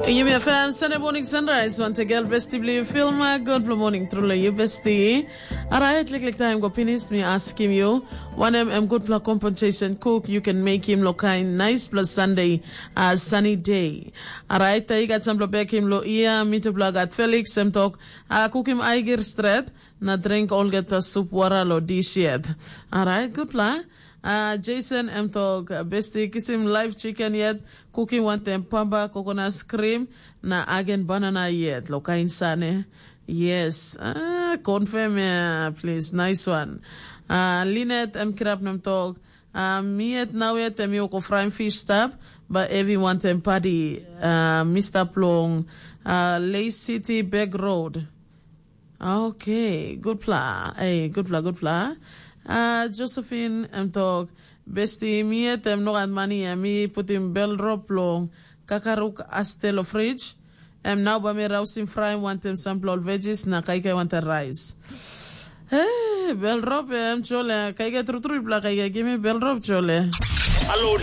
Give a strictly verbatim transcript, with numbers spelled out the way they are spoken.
Yumi F M Sunday morning sunrise. Once again, besti bli filma. Good morning, truly you besti. Alright, liklik time go pinis mi askim you. Wanem em gutpela compensation cook you can make him lo kain nice plus Sunday, uh, sunny day. Alright, I got some bekim lo ia, mitupla gat Felix, em tok, uh, cook him aigir stret, na drink olgeta sup wara lo dish yet. Alright, gutpela. Uh, Jason em tok, besti kisim live chicken yet, cooking wantem pamba, coconut cream, na agen banana yet, lo kain sane. Yes, ah, confirm ya, please, nice one. Ah, Linet em kirap nem tok, ah, mi yet nau yet em yoko frying fish stap, ba evi wantem padi, ah, mi stap long, ah, Lay City Back Road. Okay, good pla. Hey, good pla, good pla. Ah, Josephine em tok, besti mi yet em no gat mani em mi putim bel drop long kakaruk aste lo fridge. Em nau ba mi rausim fry wantem sampla ol veggies na kaikai wantem rice. Hey, bel drop em chole, kaikai trutru pla kaikai gimi bel drop chole. Alo